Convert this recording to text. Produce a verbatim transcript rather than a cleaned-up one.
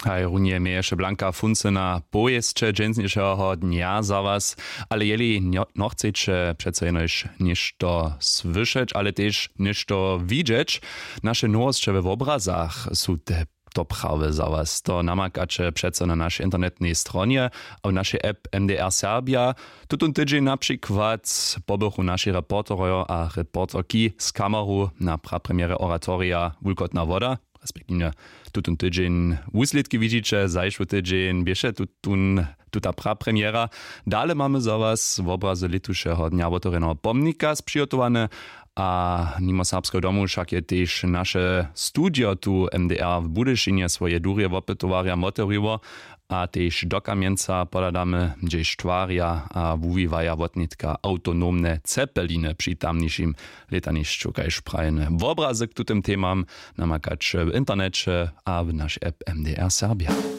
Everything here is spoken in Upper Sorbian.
Haj runje měješe blanka funce na powěsće dźensnišeho dnja za was. Ale jeli nochceće přeco jenož něšto słyšeć ale tež něšto widźeć, naše nowosće we wobrazach su te to prawje za was to namakaće přeco na našej internetnej stronje, a w našej app mdr serbja. Tutón tydźeń na přikład pobychu naši reporterojo a reporterki z kameru na prapremjerje oratorija wulkotna woda, respektiwnje tutón tydźeń wuslědki widźiće zašły tydźeń běše tutón tuta prapremjera. Dale mamy za was wobrazy lětušeho dnja wotewrjeneho pomnika spřihotowane. A nimo serbskeho domu wšak je tež naše studio tu mdr w budyšinje swoje durje wopytowarjam wotewriło, a tež do kamjenca podadamy hdźež twarja a wuwiwaja wotnětka awtonomne cepeliny při tamnišim lětanišću kaž prajene wobrazy k tutym temam namakaće w interneće a w našej app mdr serbja.